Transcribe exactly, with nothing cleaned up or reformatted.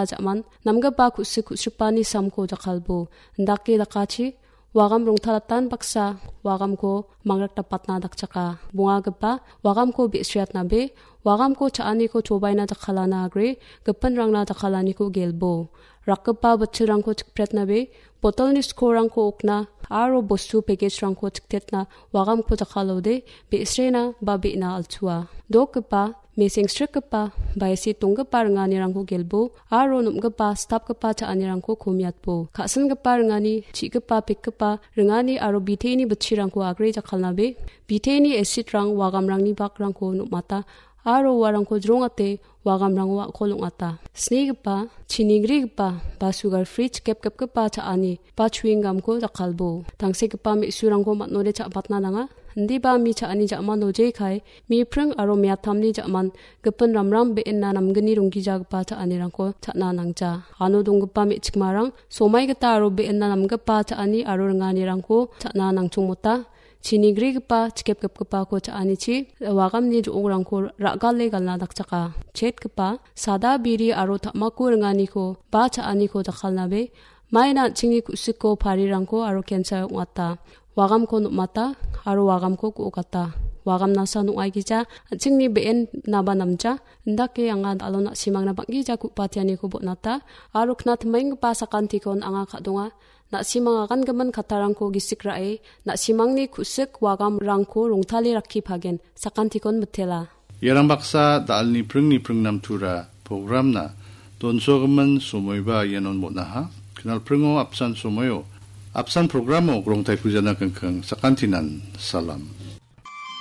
ja·man, namgipa ku·sik ku·sripani samko jakkalbo, indake dakachi, wagam rongtalatan baksa, wagamko mangrakdapatna dakchaka. Bongagipa, wagamko be·sriatnabe, wagamko cha·aniko chobaina jakkalana agre, gipinrangna jakkalaniko gelbo. Rakgipa bitchilrangko chikpretnabe, botolni skorrangko okna, aro bostu pekejrangko chiktetna, wagamko jakkalode, be·srena ba be·na alchua. Dokgipa, mesengsrikgipa, baisi tonggipa ringanirangko gelbo, aro nom·gipa, stapgipa cha·anirangko komiatbo. Ka·singipa ringani, chi·gipa, pekgipa ringani aro biteini bitchirangko agre jakkalnabe, biteini esitrang wagamrangni bakrangko nom·ata, aro uarangko jrongate wagamrango a·kol ong·ata. Snigipa, chinigrigipa, ba sugar free chikepkepgipa cha·ani, ba chewing gumko jakkalbo. Tangsekgipa me·surangko man·ode cha·batna nanga. Indiba mi cha·ani ja·mano jekai, mi pring aro meatamni ja·man, gipin ramram be·enna namgni ronggijagipa cha·anirangko cha·na nangja. Ano donggipa me·chikmarang, somai gita aro be·enna namgipa cha·ani aro ringanirangko cha·na nangchongmota. Chinigrigipa, chikepgipgipako cha·anichi, wagamni jo·ongrangko ra·gale galna dakchaka. Chetgipa, sada biri aro ta·mako ringaniko, ba cha·aniko jakkalnabe, maina an·chingni ku·siko parirangko aro kensa ong·ata. Wagamko nom·ata, aro wagamko ku·okata. Wagamnasa nong·aigija, an·chingni be·en naba namja, indake anga dal·o na·simangna bang·gija ku·patianiko bon·ata, aro knatimaenggipa sakantikon anga ka·donga. Na·simang agangimin kattarangko gisik ra·e, na·simangni ku·sik wagamrangko rongtale rakkipagen, sakantikon mitela. Iarang baksa da·alni pringni pringnamtura programna donsogimin somoiba ianon bon·aha. Knalpringo apsan somoio, apsan programo Grongtai Pujana Kengkeng sakantinan salam.